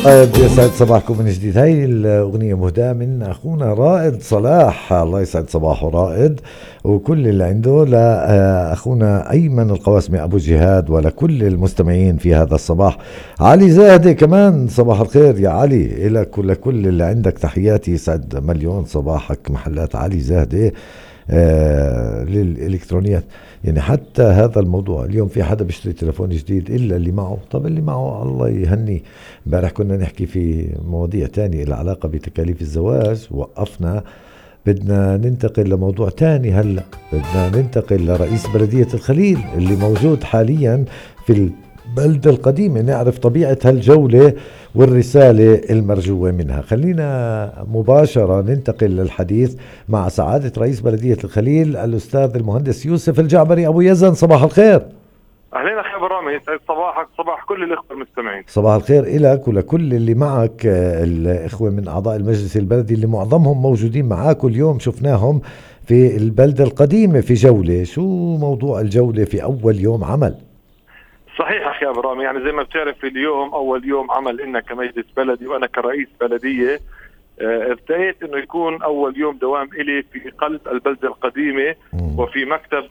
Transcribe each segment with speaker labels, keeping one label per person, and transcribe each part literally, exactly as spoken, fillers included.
Speaker 1: طيب يسعد صباحكم من جديد. هاي الأغنية مهداة من أخونا رائد صلاح، الله يسعد صباحه رائد وكل اللي عنده، لأخونا أيمن القواسمي أبو جهاد ولكل المستمعين في هذا الصباح. علي زاهدة كمان صباح الخير يا علي، إلك ولكل اللي عندك تحياتي، يسعد مليون صباحك. محلات علي زاهدة آه للإلكترونيات، يعني حتى هذا الموضوع اليوم في حدا بيشتري تليفون جديد إلا اللي معه. طب اللي معه الله يهني. امبارح كنا نحكي في مواضيع تانية العلاقة بتكاليف الزواج، وقفنا بدنا ننتقل لموضوع تاني. هلأ بدنا ننتقل لرئيس بلدية الخليل اللي موجود حاليا في البلدة القديمة، نعرف طبيعة هالجولة والرسالة المرجوة منها. خلينا مباشرة ننتقل للحديث مع سعادة رئيس بلدية الخليل الأستاذ المهندس يوسف الجعبري أبو يزن. صباح الخير.
Speaker 2: أهلين أخي أبو رامي، يسعد صباحك صباح كل الإخوة المستمعين.
Speaker 1: صباح الخير إلك ولكل اللي معك، الإخوة من أعضاء المجلس البلدي اللي معظمهم موجودين معاكم اليوم، شفناهم في البلدة القديمة في جولة. شو موضوع الجولة في أول يوم عمل؟
Speaker 2: صحيح أخي أبو رامي، يعني زي ما بتعرف اليوم أول يوم عمل إنك كمجلس بلدي وأنا كرئيس بلدية ارتأيت انه يكون اول يوم دوام الي في قلب البلدة القديمة وفي مكتب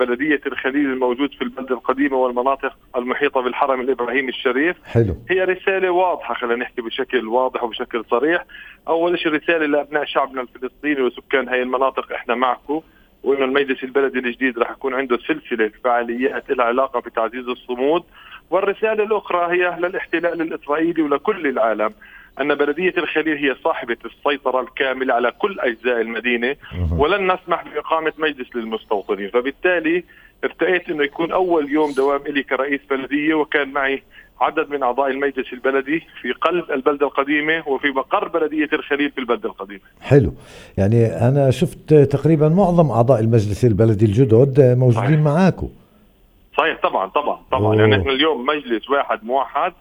Speaker 2: بلدية الخليل الموجود في البلدة القديمة والمناطق المحيطة بالحرم الابراهيمي الشريف.
Speaker 1: حلو.
Speaker 2: هي رسالة واضحة، خلينا نحكي بشكل واضح وبشكل صريح. اول شيء رسالة لابناء شعبنا الفلسطيني وسكان هاي المناطق، احنا معكم، وانه المجلس البلدي الجديد راح يكون عنده سلسلة فعاليات لها علاقة بتعزيز الصمود. والرسالة الاخرى هي للاحتلال الاسرائيلي ولكل العالم أن بلدية الخليل هي صاحبة السيطرة الكاملة على كل أجزاء المدينة، ولن نسمح بإقامة مجلس للمستوطنين. فبالتالي ارتأيت أنه يكون أول يوم دوام إلي كرئيس بلدية، وكان معي عدد من أعضاء المجلس البلدي في قلب البلدة القديمة وفي مقر بلدية الخليل في البلدة القديمة.
Speaker 1: حلو، يعني أنا شفت تقريبا معظم أعضاء المجلس البلدي الجدد موجودين معاكم.
Speaker 2: صحيح، طبعا طبعا طبعا. يعني احنا اليوم مجلس واحد موحد.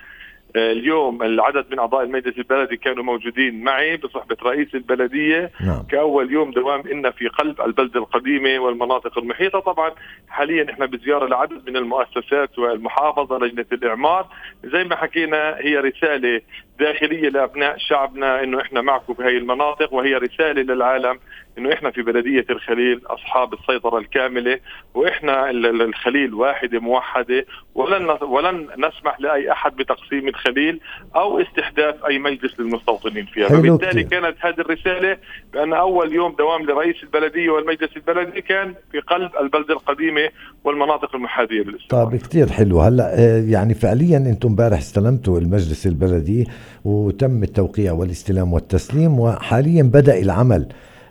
Speaker 2: اليوم العدد من أعضاء المجلس البلدي كانوا موجودين معي بصحبة رئيس البلدية. نعم. كأول يوم دوام إن في قلب البلدة القديمة والمناطق المحيطة. طبعا حاليا إحنا بزيارة لعدد من المؤسسات والمحافظة، لجنة الإعمار. زي ما حكينا هي رسالة داخلية لأبناء شعبنا إنه إحنا معكم في هاي المناطق، وهي رسالة للعالم إنه إحنا في بلدية الخليل أصحاب السيطرة الكاملة، وإحنا الخليل واحدة موحدة، ولن ولن نسمح لأي أحد بتقسيم الخليل أو استحداث أي مجلس للمستوطنين فيها. فبالتالي كانت هذه الرسالة بأن أول يوم دوام لرئيس البلدية والمجلس البلدي كان في قلب البلدة القديمة والمناطق المحاذية للاستعمار.
Speaker 1: طيب كتير حلو. هلا يعني فعليا أنتم امبارح استلمتوا المجلس البلدي وتم التوقيع والاستلام والتسليم، وحاليا بدأ العمل.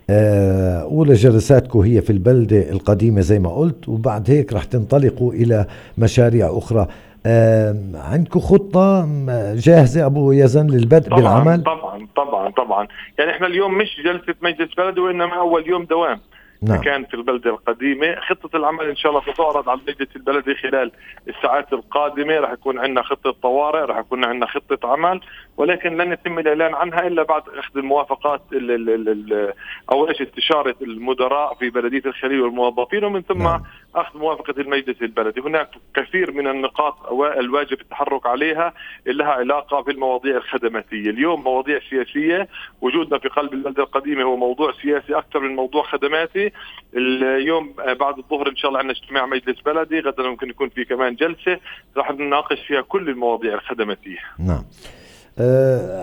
Speaker 1: أولى جلساتكم هي في البلدة القديمة زي ما قلت، وبعد هيك رح تنطلقوا إلى مشاريع أخرى. عندكم خطة جاهزة أبو يزن للبدء
Speaker 2: طبعاً
Speaker 1: بالعمل؟
Speaker 2: طبعا طبعا طبعا. يعني إحنا اليوم مش جلسة مجلس بلدي، وإنما أول يوم دوام. نعم. كان في البلدة القديمة. خطة العمل إن شاء الله ستعرض على المجلس البلدي خلال الساعات القادمة. رح يكون عندنا خطة طوارئ، رح يكون عندنا خطة عمل، ولكن لن يتم الإعلان عنها إلا بعد أخذ الموافقات ال ال ال أو إيش استشارة المدراء في بلدية الخليل والموظفين، ومن ثم نعم. أخذ موافقة المجلس البلدي. هناك كثير من النقاط الواجب التحرك عليها اللي لها علاقة بالمواضيع الخدماتية. اليوم مواضيع سياسية، وجودنا في قلب البلدة القديمة هو موضوع سياسي أكثر من موضوع خدماتي. اليوم بعد الظهر إن شاء الله عندنا اجتماع مجلس بلدي، غدا ممكن يكون في كمان جلسة راح نناقش فيها كل المواضيع الخدماتية.
Speaker 1: نعم.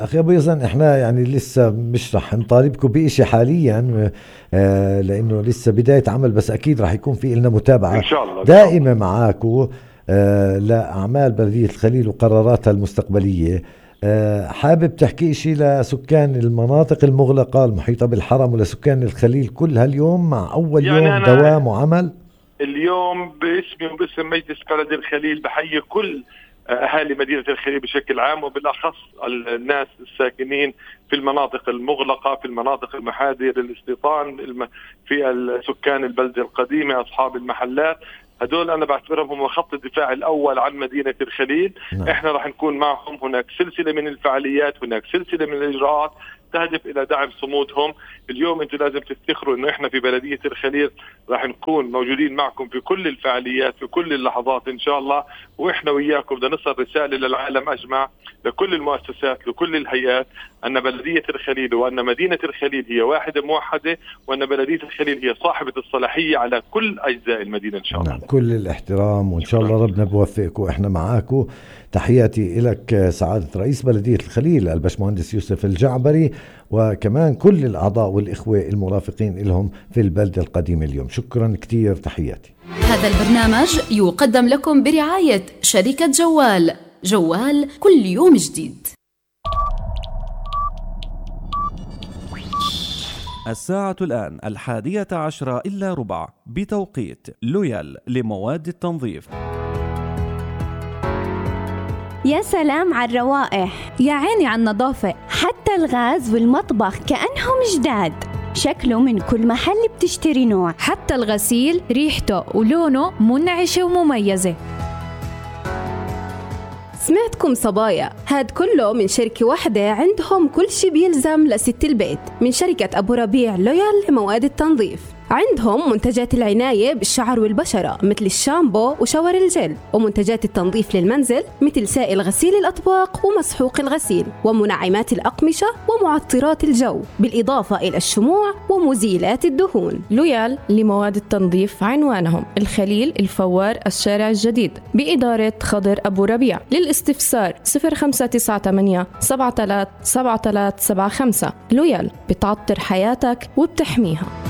Speaker 1: أخي أبو يزن، إحنا يعني لسه مش رح نطالبكم بإشي حاليا أه لأنه لسه بداية عمل، بس أكيد رح يكون في لنا متابعة إن شاء الله دائمة معاكم أه لأعمال بلدية الخليل وقراراتها المستقبلية. أه حابب تحكي إشي لسكان المناطق المغلقة المحيطة بالحرم ولسكان الخليل كل هاليوم مع أول يعني يوم دوام وعمل؟
Speaker 2: اليوم باسمي وباسم مجلس بلدية الخليل بحيي كل أهالي مدينة الخليل بشكل عام، وبالأخص الناس الساكنين في المناطق المغلقة، في المناطق المحاذية للاستيطان، في سكان البلدة القديمة، أصحاب المحلات. هدول أنا بعتبرهم هم خط الدفاع الأول عن مدينة الخليل. نعم. إحنا راح نكون معهم. هناك سلسلة من الفعاليات، هناك سلسلة من الإجراءات تهدف إلى دعم صمودهم. اليوم أنتم لازم تفتخروا إنه إحنا في بلدية الخليل راح نكون موجودين معكم في كل الفعاليات في كل اللحظات إن شاء الله، وإحنا وياكم بدنا نصل رسالة للعالم أجمع، لكل المؤسسات لكل الهيئات، أن بلدية الخليل وأن مدينة الخليل هي واحدة موحدة، وأن بلدية الخليل هي صاحبة الصلاحية على كل أجزاء المدينة إن شاء الله.
Speaker 1: نعم. كل الاحترام وإن شاء الله ربنا بوفقك وإحنا معاكم. تحياتي لك سعادة رئيس بلدية الخليل الباشمهندس يوسف الجعبري، وكمان كل الأعضاء والإخوة المرافقين لهم في البلدة القديمة اليوم. شكرا كتير، تحياتي.
Speaker 3: هذا البرنامج يقدم لكم برعاية شركة جوال. جوال كل يوم جديد.
Speaker 4: الساعة الآن الحادية عشرة إلا ربع بتوقيت لويال لمواد التنظيف.
Speaker 5: يا سلام على الروائح، يا عيني على النظافة، حتى الغاز والمطبخ كأنهم جداد. شكله من كل محل بتشتري نوع،
Speaker 6: حتى الغسيل ريحته ولونه منعشة ومميزة.
Speaker 7: سمعتكم صبايا، هاد كله من شركة واحدة عندهم كل شي بيلزم لست البيت، من شركة أبو ربيع لويال لمواد التنظيف. عندهم منتجات العناية بالشعر والبشرة مثل الشامبو وشاور الجل، ومنتجات التنظيف للمنزل مثل سائل غسيل الأطباق ومسحوق الغسيل، ومنعمات الأقمشة ومعطرات الجو، بالإضافة إلى الشموع ومزيلات الدهون.
Speaker 6: لويال لمواد التنظيف عنوانهم الخليل الفوار الشارع الجديد بإدارة خضر أبو ربيع. للاستفسار صفر خمسة تسعة ثمانية سبعة ثلاثة سبعة ثلاثة سبعة خمسة. لويال بتعطر حياتك وبتحميها.